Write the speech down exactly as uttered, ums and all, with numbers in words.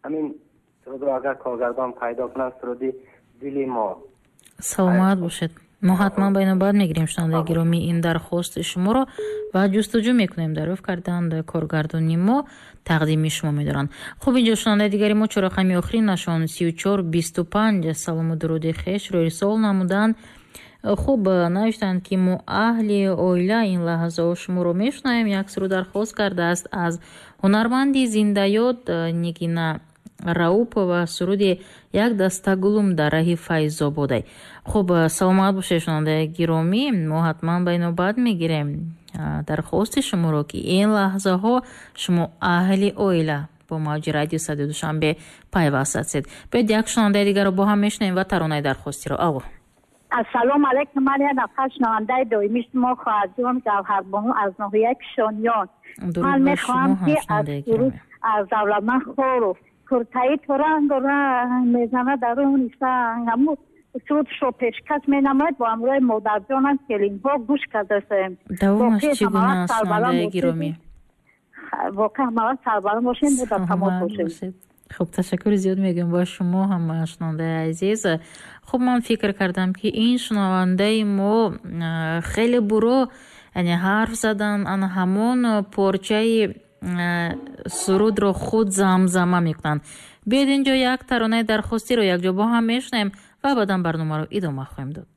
Ҳамин сурудро агар коргардон пайдо кунанд, суруди дили мо. Саломат бошед. Мо ҳатман ба инобат мегирем, шунавандаи гиромӣ, ин дархости шуморо ва ҷустуҷӯ мекунем. Дарёфт карданд коргардони мо, тақдими шумо медоранд. Хуб, инҷо шунавандаи дигари мо, чорақами охиринашон сию чор бисту панҷ, салому дуруди хешро ирсол намуданд. Хуб, навиштанд, ки мо аҳли оила ин лаҳзаҳо шуморо мешунавем. Як суруд дархост кардааст аз ҳунарманди зиндаёд Нигина Раупова, суруди «Як даста гулум дар раҳи Файзободай». Хуб, саломат бошед, шунавандаи гиромӣ. Мо ҳатман ба инобат мегирем дархости шуморо, ки ин лаҳзаҳо шумо аҳли оила бо мавҷи радио Садои Душанбе пайваст ҳастед. Биёед, як шунавандаи дигарро бо ҳам мешунавем ва таронаи дархостиро. Алло. Ассалому алайкум. Ман як нафар шунавандаи доимии шумо, хоҳарҷон Гавҳарбону аз ноҳияи Кишониён. Ман мехоҳам, ки аз суруд аз Давлатманд Хоров «Куртаи ту рангу ранг мезанад даруни санг», ҳамун сурудшо пешкаш менамояд. Бо ҳамроҳи модарҷонам, келинҳо гӯш кардасем. Давомаш чӣ гуна аст, шунавандаи гиромӣ? Воқеан ҳамавақт сарбаланд бошем, мо дар тамос бошем. Хуб, ташаккури зиёд мегӯям ба шумо ҳам, шунавандаи азиз. Хуб, ман фикр кардам, ки ин шунавандаи мо хеле буро, яъне ҳарф задан, ана ҳамон порчаи сурудро худ замзама мекунанд. Биёед, инҷо як таронаи дархостиро якҷо бо ҳам мешунавем ва баъдан барномаро идома хоҳем дод.